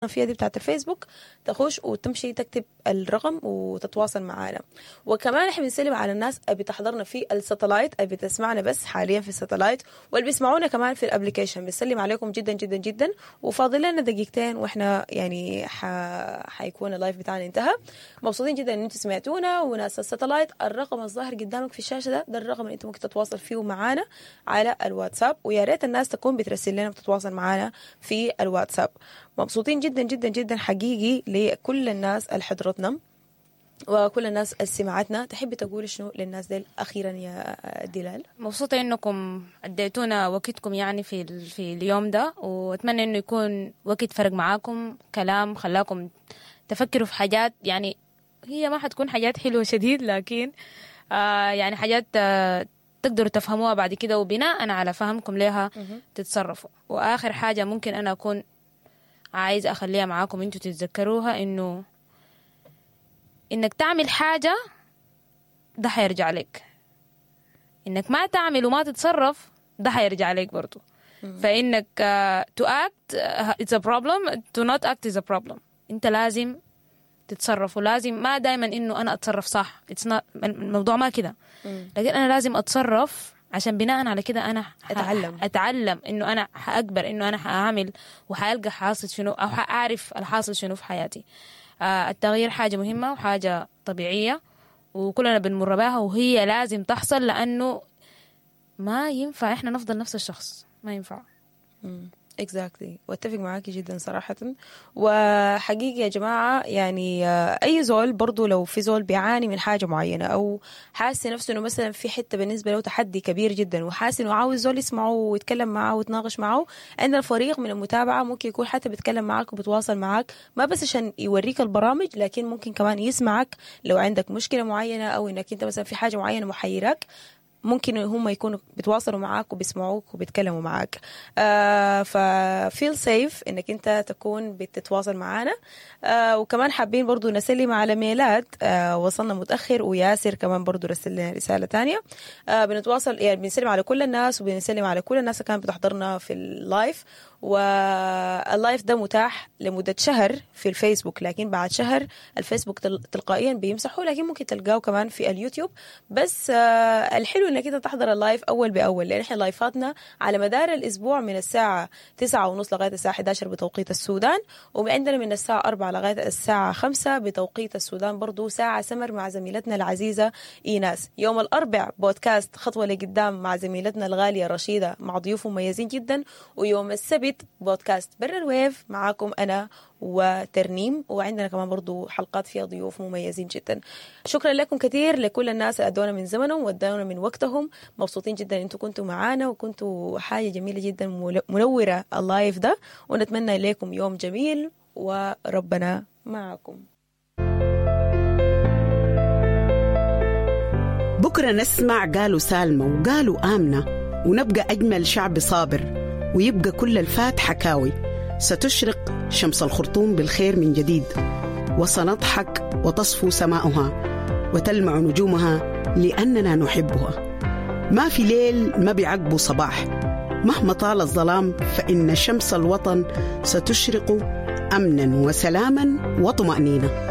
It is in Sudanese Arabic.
فيها دي بتاعت الفيسبوك، تخش وتمشي تكتب الرقم وتتواصل معنا. وكمان احنا بنسلم على الناس اللي بتحضرنا في ال satellite، اللي بتسمعنا بس حاليا في ال satellite، واللي بيسمعونا كمان في ال application. بنسلم عليكم جدا جدا جدا. وفاضل لنا دقيقتين واحنا يعني حيكون ال live بتاعنا انتهى. مبسوطين جدا ان انتم سمعتونا. وناس ال satellite، الرقم الظاهر قدامك في الشاشة ده الرقم اللي انت ممكن تتواصل فيه معانا على الواتساب، ويا ريت الناس تكون بترسل لنا وتتواصل معانا في الواتساب. مبسوطين جدا جدا جدا حقيقي لكل الناس اللي حضرتنا وكل الناس اللي سمعتنا. تحبي تقولي شنو للناس ديل اخيرا يا دلال؟ مبسوطة إنكم اديتونا وقتكم يعني في اليوم ده، وأتمنى إنه يكون وقت فرق معاكم، كلام خلاكم تفكروا في حاجات، يعني هي ما حتكون حاجات حلوة شديد، لكن يعني حاجات تقدروا تفهموها بعد كده، وبناء على فهمكم لها تتصرفوا. وآخر حاجة ممكن أنا أكون عايز أخليها معاكم انتوا تتذكروها، إنه إنك تعمل حاجة ده حيرجع لك، إنك ما تعمل وما تتصرف ده حيرجع لك برضو. فإنك to act it's a problem، to not act is a problem. أنت لازم تتصرف، ولازم ما دايما إنه أنا أتصرف صح، it's not، الموضوع ما كده، لكن أنا لازم أتصرف عشان بناء على كده أنا أتعلم. أتعلم إنه أنا حأكبر، إنه أنا حأعمل وحألقى حاصل شنو، أو حأعرف الحاصل شنو في حياتي. التغيير حاجة مهمة وحاجة طبيعية، وكلنا بنمر بها، وهي لازم تحصل، لأنه ما ينفع إحنا نفضل نفس الشخص، ما ينفع. exactly، واتفق معاكي جدا صراحة. وحقيقي يا جماعة يعني أي زول برضو لو في زول بيعاني من حاجة معينة، أو حاسس نفسه إنه مثلا في حتة بالنسبة له تحدي كبير جدا، وحاسس إنه عاوز زول يسمعه ويتكلم معه ويتناقش معه، عندنا فريق من المتابعة ممكن يكون حتى بيتكلم معك وبتواصل معك، ما بس عشان يوريك البرامج، لكن ممكن كمان يسمعك لو عندك مشكلة معينة، أو إنك أنت مثلا في حاجة معينة محيرك، ممكن هم يكونوا بيتواصلوا معاك وبيسمعوك وبيتكلموا معاك. ف feel safe انك انت تكون بتتواصل معانا. وكمان حابين برضو نسلم على ميلاد، وصلنا متأخر، وياسر كمان برضو رسل لنا رسالة تانية. بنتواصل يعني بنسلم على كل الناس، وبنسلم على كل الناس اللي كانت بتحضرنا في ال live. وال live ده متاح لمدة شهر في الفيسبوك، لكن بعد شهر الفيسبوك تلقائيا بيمسحه، لكن ممكن تلقاه كمان في اليوتيوب. بس الحلو انك انت تحضر ال live اول باول، لان احنا لايفاتنا على مدار الاسبوع من الساعة 9:30 لغاية الساعة 11 بتوقيت السودان، وعندنا من الساعة 4 لغاية الساعة 5 بتوقيت السودان برضو ساعة سمر مع زميلتنا العزيزة إيناس. يوم الأربع بودكاست خطوة لقدام مع زميلتنا الغالية رشيدة مع ضيوف مميزين جدا، ويوم السبت بودكاست برا ال wave معاكم أنا وترنيم، وعندنا كمان برضو حلقات فيها ضيوف مميزين جدا. شكرا لكم كثير، لكل الناس اللي أدونا من زمنهم وادونا من وقتهم. مبسوطين جدا انتوا كنتوا معانا، وكنتوا حاجة جميلة جدا منورة ال live ده، ونتمنى لكم يوم جميل وربنا معكم. بكرة نسمع قالوا سالمة وقالوا آمنة، ونبقى أجمل شعب صابر، ويبقى كل الفات حكاوي. ستشرق شمس الخرطوم بالخير من جديد، وسنضحك وتصفو سماؤها وتلمع نجومها لأننا نحبها. ما في ليل ما بيعقبه صباح، مهما طال الظلام فإن شمس الوطن ستشرق أمنا وسلاما وطمأنينة.